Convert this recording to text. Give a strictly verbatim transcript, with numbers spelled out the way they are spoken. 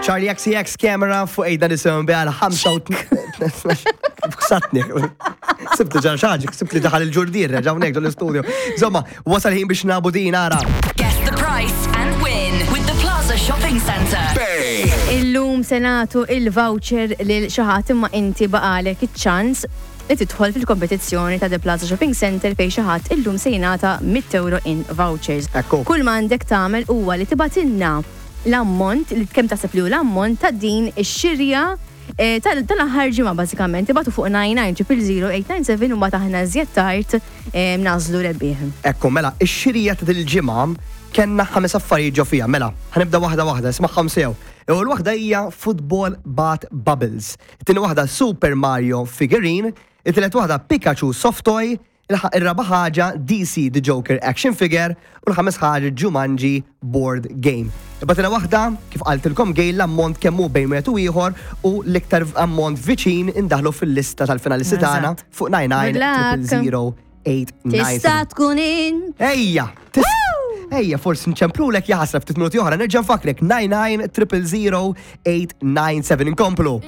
Charli X C X, Camera fuq ejda nisimgħu għal ħamsa u Ksatni. Sibt ġar xaġi, sibt li daħal il-ġurdir, reġaw nekdu l-studio. Insomma, wasal ħin biex nabu din ara. Guess the price and win with the Plaza Shopping Centre. Bay. Illum se nagħtu il-voucher lil xi ħadd, imma inti baqalek iċ-ċans li tidħol fil-kompetizzjoni ta' The Plaza Shopping Center, fejn xi ħadd illum se jingħata mitt euro in vouchers. Ekku. Kull ma għandek tagħmel huwa li tibgħatilna l-ammont, li kemm taħseb li hu l-ammont ta' din ix-xirja eh, tal- tal-aħħar ġimgħa bażikament. Ibagħtu fuq nine nine zero zero eight nine seven u mbagħad aħna żjed tard eh, nagħżlu rebbieħ. Ekku, mela, ix-xirija ta' dil-ġimgħa kellna ħames affarijiet ġo fija. Mela, ħa nibda waħda waħda, ismagħhom sew. Ewwel waħda hija Football Bat Bubbles. It-tieni waħda Super Mario Figurine, it-tielet waħda Pikachu Soft Toy, il- ir-raba ħaġa D C The Joker Action Figure u l-ħames ħaġa Jumanji Board Game. Ibgħatilna waħda, kif qaltilkom Gail, l-ammont kemm hu bejn wieħed u ieħor u l-iktar ammont viċin indaħlu fil-lista tal-finalisti tagħna Eżatt. fuq nine nine Good luck. zero zero eight nine. Tista' tkun in Ejja, tis- Ejja, forsi nċemplulek, jaħasra, ftit minuti oħra, nerġa' nfakrek nine nine zero zero eight nine seven. Inkomplu.